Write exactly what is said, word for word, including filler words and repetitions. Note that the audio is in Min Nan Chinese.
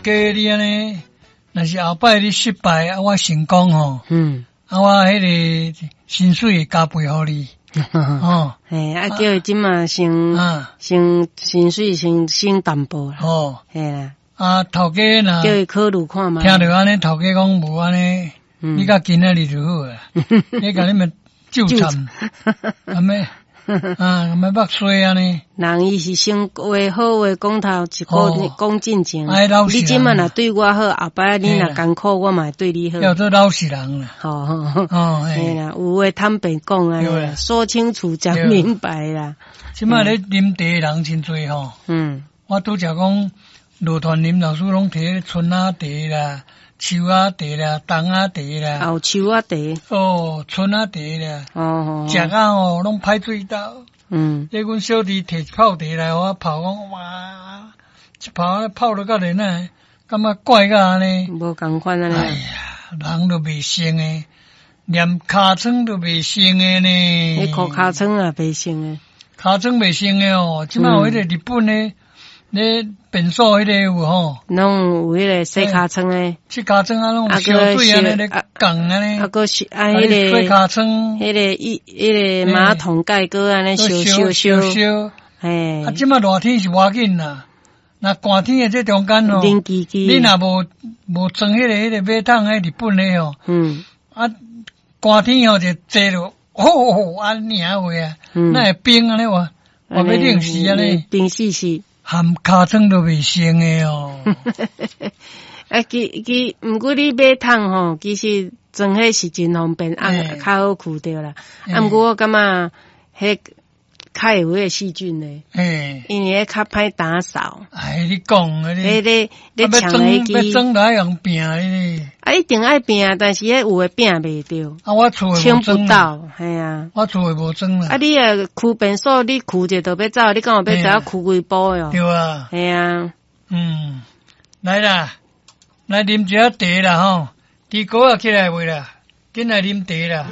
家你按呢，若是後擺你失敗啊，我成功吼，嗯，啊，我彼个薪水會加倍予你，哦，嘿，啊，叫伊這馬先啊，先薪水先省淡薄啦，哦，嘿啦，啊，頭家若叫伊考慮看覓。聽著按呢，頭家講無按呢，嗯你較今仔日就好啊，你共你們糾纏，啊咩啊，咩目衰按呢？人伊是先話好話講頭一個哦講進前，哎老實你這馬若對我好，後擺你若嘿啦艱苦，我嘛會對你好。叫做老實人啦。吼吼，哦，嘿啦，有話坦白講啊對啦，說清楚講明白啦。這馬咧啉茶的人真濟吼。嗯，我拄才講，羅團林老師攏提春仔茶啦、樹仔茶啦、冬仔茶啦，有樹仔茶。哦，春仔茶啦，哦，食啊吼攏歹水豆。嗯，這阮小弟提一泡茶來，予我泡，講哇，一泡泡了到連啊，感覺怪甲按呢。無仝款按呢。哎呀，人都袂成的，連尻川都袂成的呢。你尻尻川也袂成的。尻川袂成的哦，這馬有彼個日本的，咧便所彼個有吼，攏有彼個洗尻川的，洗尻川啊，攏有燒水按呢咧降按呢，啊，閣是啊，彼個洗尻川，彼個一彼個馬桶蓋閣按呢燒燒燒，燒，嘿，啊，這馬熱天是無要緊啦，若寒天的這中間哦，冷吱吱，你若無無裝彼個彼個馬桶，彼日本的吼，嗯，啊，寒天吼就坐落，吼，按呢話啊，哪會冰按呢話，我欲冷死按呢，冰死死。含尻川都袂成的哦。啊，其其，毋過你馬桶吼，其實裝彼是真方便，啊，較好去著啦。啊，毋過我感覺彼較會有彼個細菌咧，因為彼較歹打掃。哎，你講啊，你彼咧咧搶彼支，欲裝就愛用拚哩。啊，一定愛拚，但是彼有的拚袂著。啊，我厝清不到，嘿啊。我厝的無裝啦。啊，你啊，區便所你跍一下就欲走，你敢有欲知影跍幾步喲？對啊。嘿啊。嗯，來啦，來啉一下茶啦吼，豬哥仔起來未啦？緊來啉茶啦。